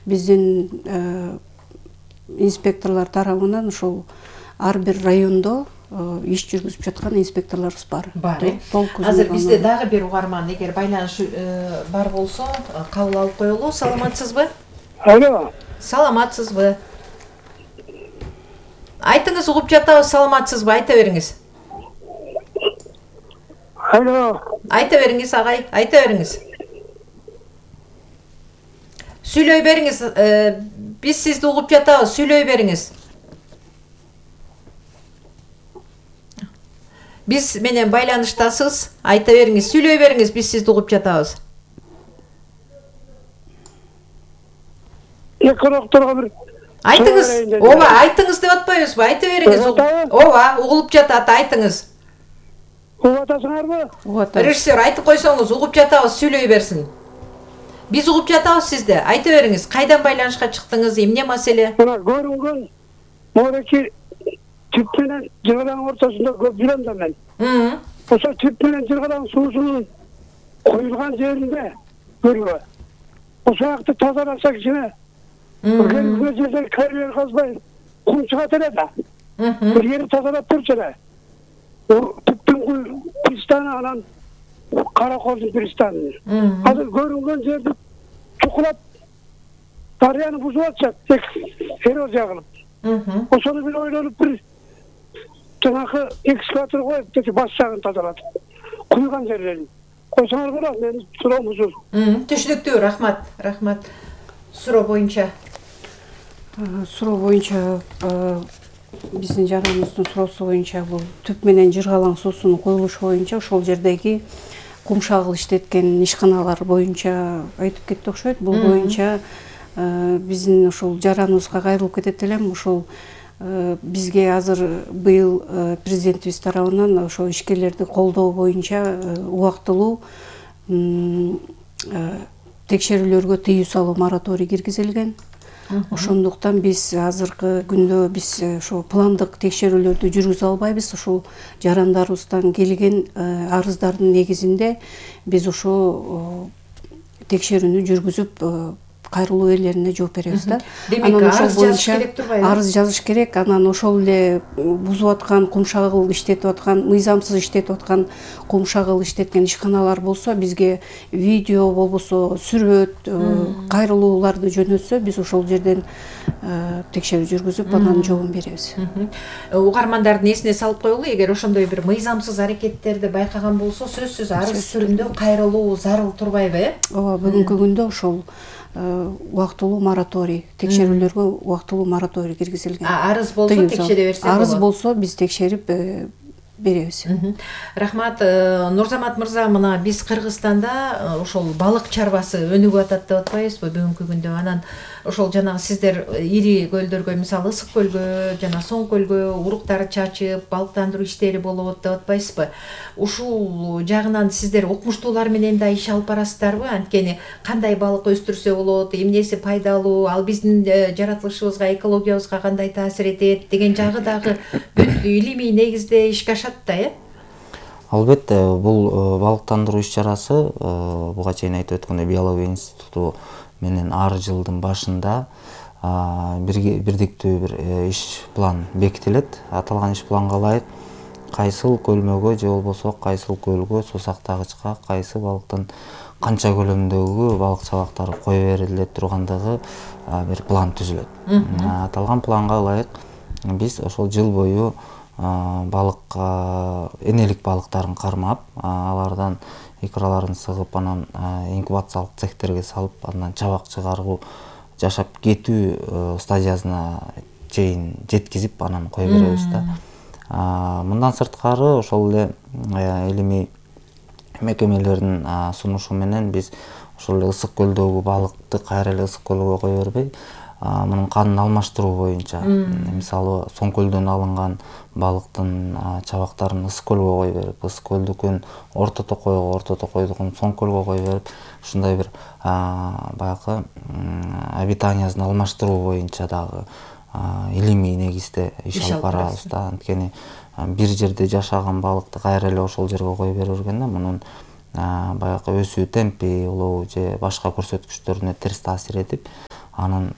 биздин инспекторлор тарабынан ошол ар бир райондо иш жүргүзүп жаткан инспекторлорубуз бар. Азыр бизде дагы бир угарман эгер байланыш бар болсо кабыл алып коелу. Саламатсызбы? Алло. Саламатсызбы? Айтыңыз, угуп жатабыз. Саламатсызбы? Айта бериңиз. Алло. Айта бериңиз, агай. Айта бериңиз. Сүйлөй бериңиз. Биз сизди угуп жатабыз. Сүйлөй бериңиз. Биз менен байланыштасыз. Айта бериңиз. Сүйлөй бериңиз. Биз сизди угуп жатабыз. Экорокторго бир айтыңыз. Ооба, айтыңыз деп атпайбызбы? Айта бериңиз. Ооба, угулуп жатат. Айтыңыз. Угуп атасыңарбы? Режиссер, айтып койсоңуз, угуп жатабыз. Сүйлөй берсин. Биз угуп жатабыз сизди. Айта бериңиз. Кайдан байланышка чыктыңыз? Эмне маселе? Мына көрүнгөн мореки түп менен жыргалаңдын ортосунда көп жүрөм да мен. Ошо түп менен жыргалаң суусунун коюлган жеринде көрүбү. Ошол жакты тазаласа кичине Бugün gözler kariyer kazmayın. Kum çıkart ele de. Bir yeri tazalap turç ele. O tüptün pristanı alan Karakol'un pristanı. Hazır görüngen yerde çukulap Daryanı buzu atacak. Tek eroz yakılıp. O sonra bir oynanıp bir tırnakı ekskavator koyup dedi başçağını tazaladı. Kuyugan yerlerini. Koysanar kadar benim sıram huzur. Түшүнүктүү, рахмат, рахмат. Суроо боюнча. Суроо боюнча биздин жараныбыздын суроосу боюнча бул түп менен жыргалаң суусунун коюлушу боюнча ошол жердеги кумшагыл иштеткен ишканалар боюнча айтып кетти окшойт. Бул боюнча биздин ошол жараныбызга кайрылып кетет элем. Ошол бизге азыр быйыл президентибиз тарабынан ошо ишкерлерди колдоо боюнча убактылуу текшерүүлөргө тыюу салуу мораторий киргизилген. Ошондуктан биз азыркы күндө биз ошо пландык текшерүүлөрдү жүргүзө албайбыз. Ошол жарандарыбыздан келген арыздардын негизинде биз ошо текшерүүнү жүргүзүп кайрылуу ээлерине жооп беребиз да. Демек, арыз жазыш керек турбайбы? Арыз жазыш керек. Анан ошол эле бузуп аткан, кумшагыл иштетип аткан, мыйзамсыз иштетип аткан, кумшагыл иштеткен ишканалар болсо, бизге видео болбосо сүрөт, кайрылууларды жөнөтсө, биз ошол жерден текшерүү жүргүзүп, анан жообун беребиз. Угармандардын эсине салып коелу, эгер ошондой бир мыйзамсыз аракеттерди байкаган болсо, сөзсүз арыз түрүндө кайрылуу зарыл турбайбы, э? Ооба, бүгүнкү күндө ошол убактылуу мораторий, текшерүүлөргө убактылуу мораторий киргизилген. Арыз болсо текшере берсе болот. Арыз болсо биз текшерип беребиз. Рахмат. Нурзамат мырза, мына биз Кыргызстанда ошол балык чарбасы өнүгүп атат деп атпайбызбы бүгүнкү күндө? Анан ошол жанагы сиздер ири көлдөргө, мисалы Ысык көлгө жана Соң көлгө уруктар чачып, балыктандыруу иштери болот деп атпайсызбы? Ушул жагынан сиздер окумуштуулар менен да иш алып барасыздарбы? Анткени кандай балык өстүрсө болот, эмнеси пайдалуу, ал биздин жаратылышыбызга, экологиябызга кандай таасир этет деген жагы дагы бүт илимий негизде ишке ашат да, э? Албетте, бул балыктандыруу иш-чарасы буга чейин айтып өткөндөй биология институту менен ар жылдын башында бирдиктүү бир иш план бекитилет. Аталган иш планга ылайык кайсыл көлмөгө же болбосо кайсыл көлгө, сусактагычка кайсы балыктын канча көлөмдөгү балык чабактары кое бериле тургандыгы бир план түзүлөт. Аталган планга ылайык биз ошол жыл бою балык энелик балыктарын кармап, алардан икраларын сыгып, анан инкубациялык цехтерге салып, андан чабак чыгаруу, жашап кетүү стадиясына чейин жеткизип, анан кое беребиз да. Мындан сырткары ошол эле илимий мекемелердин сунушу менен биз ошол эле Ысык көлдөгү балыкты кайра эле Ысык көлгө кое бербей, мунун канын алмаштыруу боюнча, мисалы Соң көлдөн алынган балыктын чабактарын Ысык көлгө кое берип, Ысык көлдүкүн Орто Токойго, Орто Токойдукун Соң көлгө кое берип, ушундай бир баягы обитаниясын алмаштыруу боюнча дагы илимий негизде иш алып барабыз да. Анткени бир жерде жашаган балыкты кайра эле ошол жерге кое бере бергенде мунун баягы өсүү темпи, улоо же башка көрсөткүчтөрүнө терс таасир этип, анын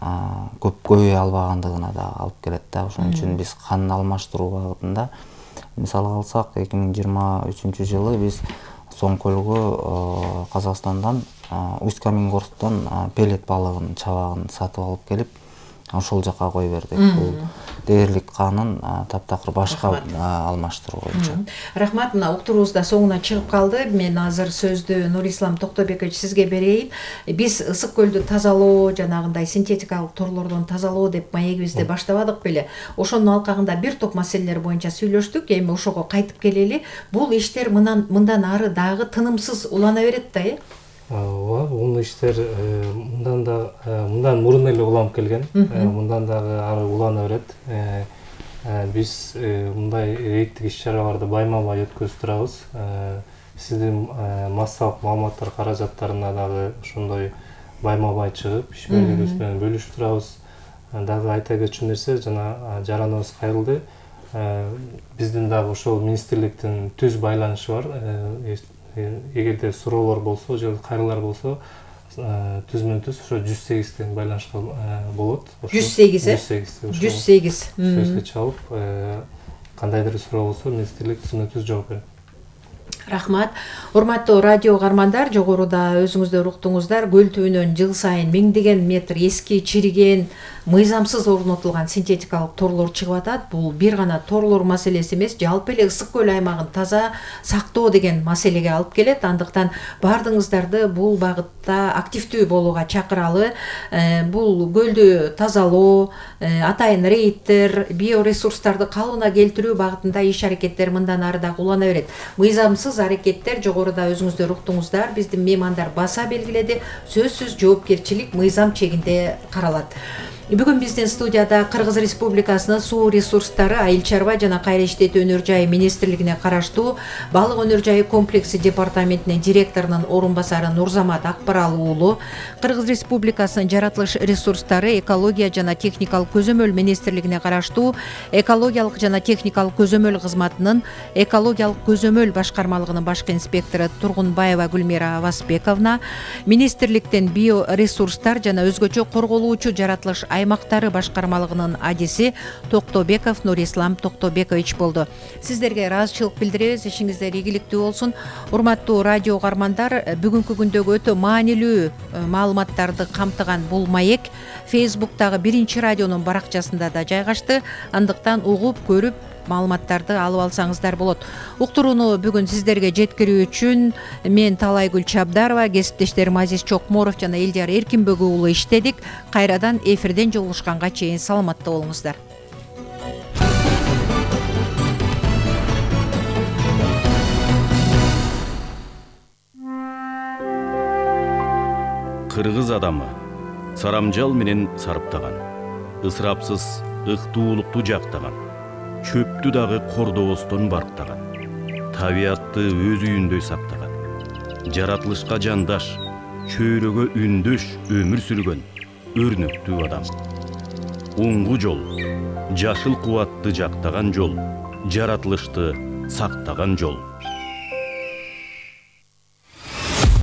көп көбөйө албагандыгына да алып келет да. Ошон үчүн биз кан алмаштыруу багытында мисалы алсак 2023 жылы биз Соң-Көлгө Казакстандан Усть-Каменгорсктон пеллет балыгынын чабагын сатып алып келип ошол жака кой бердик. Бул дээрлик канын таптакыр башка алмаштыруу боюнча. Рахмат, мына уктуруубуз да соңуна чыгып калды. Мен азыр сөздү Нурислам Токтобекович сизге берейин. Биз ысык көлдү тазалоо, жанагындай синтетикалык торлордон тазалоо деп маегибизди баштабадык беле? Ошонун алкагында бир топ маселелер боюнча сүйлөштүк. Эми ошого кайтып келели. Бул иштер мындан ары дагы тынымсыз улана берет да, э? Ооба, бул иштер мындан мурун эле уланып келген. Мындан дагы ары улана берет. Биз мындай рейдтик иш-чараларды байма-бай өткөзүп турабыз. Сиздин массалык маалыматтар каражаттарына дагы ошондой байма-бай чыгып, ишмерлерибиз менен бөлүшүп турабыз. Дагы айта кетчү нерсе, жана жараныбыз кайрылды. Биздин дагы ошол министрликтин түз байланышы бар. Эгерде суроолор болсо же кайрылар болсо, түзмөн-түз ошо 108 байланышка болот. 108 108 сөзгө чалып, кандайдыр суроо болсо министрлик түзмөн-түз жооп берет. Рахмат. Урматтуу радио каармандар, жогоруда өзүңүздөр уктуңуздар, көл түбүнөн жыл сайын миңдеген метр эски, чириген, мыйзамсыз орнотулган синтетикалык торлор чыгып атат. Бул бир гана торлор маселеси эмес, жалпы эле ысык көл аймагын таза сактоо деген маселеге алып келет. Андыктан баардыгыңыздарды бул багытта активдүү болууга чакыралы. Бул көлдү тазалоо, атайын рейдтер, биоресурстарды калыбына келтирүү багытында иш-аракеттер мындан ары дагы улана берет. Мыйзамсыз аракеттер жогоруда өзүңүздөр уктуңуздар, биздин меймандар баса белгиледи. Сөзсүз жоопкерчилик мыйзам чегинде каралат. Бүгүн биздин студияда Кыргыз Республикасынын суу ресурстары, айыл чарба жана кайра иштетүү өнөр жайы министрлигине караштуу балык өнөр жайы комплекси департаментинин директорунун орун басары Нурзамат Акбаралы уулу, Кыргыз Республикасынын жаратылыш ресурстары, экология жана техникалык көзөмөл министрлигине караштуу экологиялык жана техникалык көзөмөл кызматынын экологиялык көзөмөл башкармалыгынын башкы инспектору Тургунбаева Гүлмира Авасбековна, министрликтен биоресурстар жана өзгөчө корголуучу жаратылыш аймактары башкармалыгынын адиси Токтобеков Нурислам Токтобекович болду. Сиздерге ыраазычылык билдиребиз, ишиңиздер ийгиликтүү болсун. Урматтуу радио каармандар, бүгүнкү күндөгү өтө маанилүү маалыматтарды камтыган бул маек Facebook'тагы Биринчи радионун баракчасында да жайгашты. Андыктан угуп, көрүп, маалыматтарды алып алсаңыздар болот. Уктурууну бүгүн сиздерге жеткирүү үчүн мен Талайгүл Чабдарова, кесиптештерим Азиз Чокморов жана Элдияр Эркинбек уулу иштедик. Кайрадан эфирден жолугушканга чейин саламатта болуңуздар. Кыргыз адамы сарамжал менен сарптаган, ысырапсыз ыктуулукту жактаган, чөптү дагы кордобостон барктаган, табиатты өз үйүндөй сактаган, жаратылышка жандаш, чөйрөгө үндөш өмүр сүргөн өрнөктүү адам. Оңгу жол, жашыл кубатты жактаган жол, жаратылышты сактаган жол.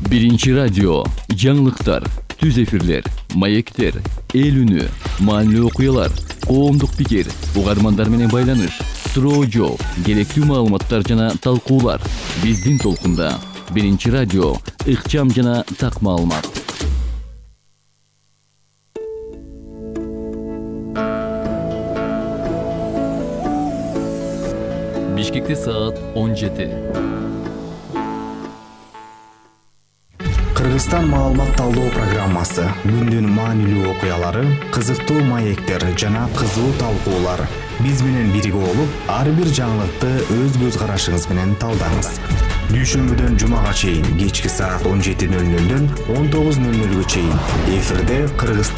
Биринчи радио, жаңылыктар, түз эфирлер, маектер, эл үнү, маанилүү окуялар, коомдук пикир, угармандар менен байланыш, суроо жооп, керектүү маалыматтар жана талкуулар. Биздин толкунда Биринчи радио, ыкчам жана так маалымат. Бишкекте саат 17. Кыргызстан маалымат талдоо программасы, күндүн маанилүү окуялары, кызыктуу маектер жана кызуу талкуулар. Биз менен бирге болуп, ар бир жаңылыкты өз көз карашыңыз менен талдаңыз. Дүйшөмбүдөн жумага чейин кечки саат 17:00дөн 19:00 чейин эфирде Кыргызстан